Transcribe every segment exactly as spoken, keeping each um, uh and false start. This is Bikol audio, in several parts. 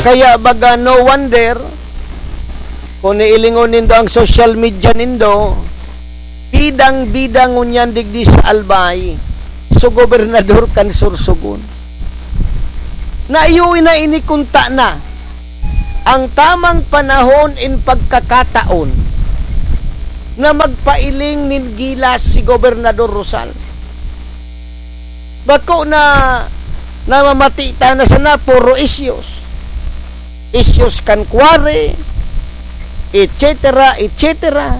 Kaya baga no wonder, kung niilingon nindo ang social media nindo, bidang-bida ngunyan digdi sa Albay, so gobernador kan Sorsogon. Na iyo na ini kunta na ang tamang panahon in pagkakataon na magpailing nin gilas si Gobernador Rosal. Bako na namamati ta na sana puro issues. Issues kan quarry, et cetera, et cetera.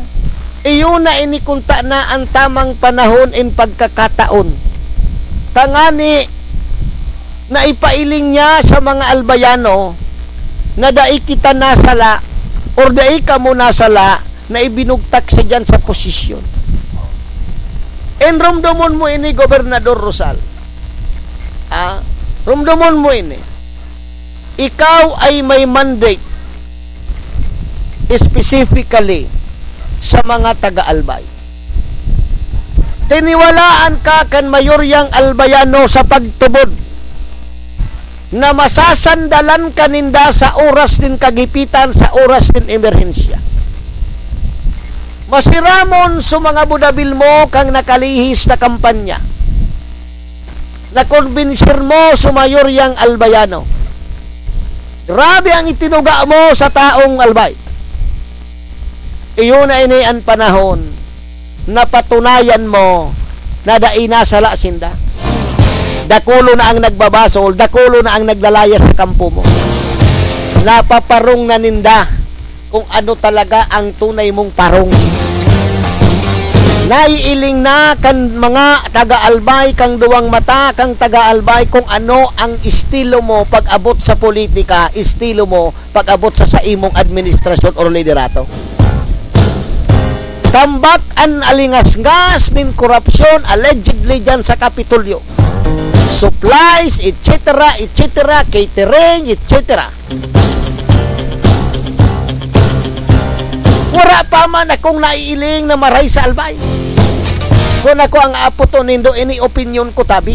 Iyo na ini kunta na ang tamang panahon in pagkakataon. Tangani na ipailing niya sa mga Albayano na dai kita nasala or dai kamo nasala na ibinugtak sa diyan sa posisyon. And rumdomon mo ini, Gobernador Rosal. Ah, rumdomon mo ini. Ikaw ay may mandate specifically sa mga taga-Albay. Tiniwalaan ka kan mayoryang Albayano sa pagtubod na masasandalan ka ninda sa oras nin kagipitan, sa oras nin emerhensya. Masiramon sa mga budabil mo kang nakalihis na kampanya. Nakonbinsir mo sa mayoryang Albayano. Grabe ang itinuga mo sa taong Albay. Iyo na ini an panahon na patunayan mo na dai nasala sinda. Dakulo na ang nagbabasol, dakulo na ang naglalayas sa kampo mo. Napaparong na ninda kung ano talaga ang tunay mong parong. Naiiling na kan mga taga-Albay, kang duwang mata, kang taga-Albay, kung ano ang estilo mo pag-abot sa politika, estilo mo pag-abot sa, sa imong administrasyon or liderato. Tambak an alingasngas nin korupsyon allegedly dyan sa Kapitolyo. Supplies, et cetera, et cetera, catering, et cetera. Wala pa man akong naiiling na maray sa Albay. Kung ako ang aaputon nindo, ini opinyon ko tabi.